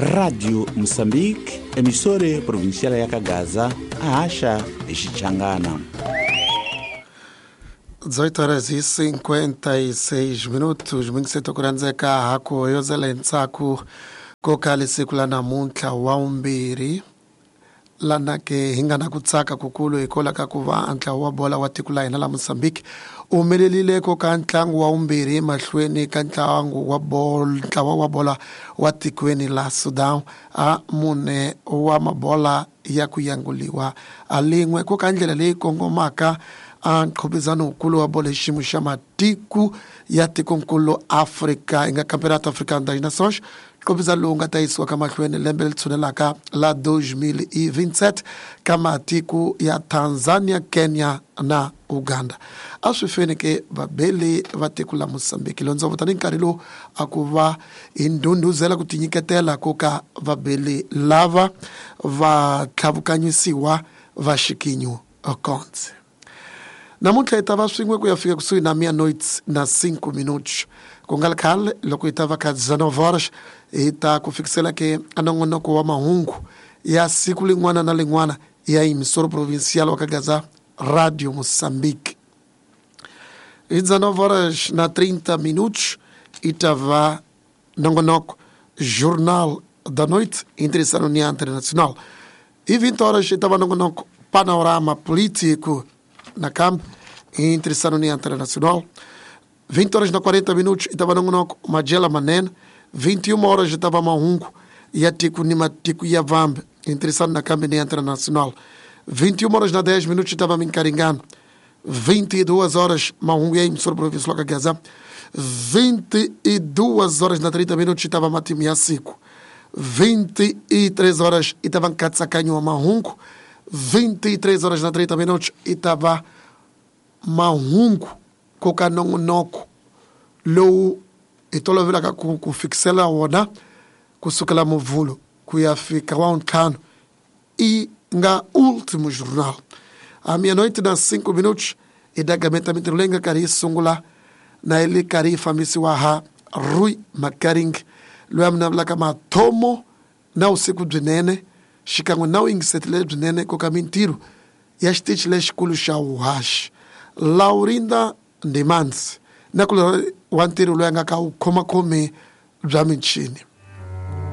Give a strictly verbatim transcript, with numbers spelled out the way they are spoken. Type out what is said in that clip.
Radio Moçambique, emissora provincial ya Kagaza, a Acha e Xichangana. dezoito horas e cinquenta e seis minutos, mingiseto kurandzeka hako yozela ntsako koka lesiku la namuntlha wa vumbirhi lana ke hi nga na ku tsaka kukulu hikola ka ku va ntlawa wa bola wa tiko la hina la Mozambique u humelelile koka ntlangu wa vumbirhi mahlweni ka ntlangu wa bolo ntlawa wa bola wa tikweni la Sudan a mune wa mabola ya ku yanguliwa a lin'we koka ndlela leyi kongomaka a nqhubizano wukulu wa bolo hi xiyimo xa matiko ya tikonkulu Afrika yi nga Campeonato Africano das Nações nqhubizano lowu nga ta yisiwa ka mahlweni lembe leri tshunelaka la dois mil e vinte e sete ka matiko ya Tanzania, Kenya na Uganda. A swi feni ke vabeli va tiko la Mozambique londzo tani nkarhi lowu a ku va hi ndhundhuzela ku tinyiketela ko ka vabeli lava va tlhavukanyisiwa va xikinyu Okonze. Namuntlha hi ta va swin'we ku ya fika kusuhi na meia-noite na cinco minutos. Ku nga ri khale loko hi ta va ka dezenove horas hi ta ku fikisela ke a nongonoko wa mahungu ya siku lin'wana na lin'wana ya emissora provincial wa Kagaza Radio Moçambique. Hi dezenove horas na trinta minutos hi ta va nongonoko Jornal da Noite interessando na Internacional. E vinte horas hi ta va nongonoko Panorama Político na campo interessando na Internacional. vinte horas na quarenta minutos estava nongonoko Magela Manene. vinte e uma horas estava Mahungo e a Tico Nimatico e a Vambe interessando na campo internacional. vinte e uma horas na dez minutos estava Mincaringano. vinte e duas horas Mahungo e a emissora provincial Kagaza. vinte e duas horas na trinta minutos estava Matimiacico. vinte e três horas estava Katsacanho Mahungo. vinte e três horas na trinta minutos estava Mahungo koka nongonoko lowu hi tolovelaka ku ku fikisela wona kusukela Muvhulo ku ya fika wa ntlhanu i nga último jornal. A meia-noite na cinco minutos i dagamenta mintirho leyi nga karhi yi sungula na yi le karhi yi fambisiwa ha Rui Makaring loyi a vulavulaka mathomo na vusiku byinene xikan'we na u yingisetile byinene koka mintirho ya xitichi lexikulu xa vuhaxi Laurinda Ndimandzi na ku wa ntirho loyi a nga ka vukhomakhomi bya michini.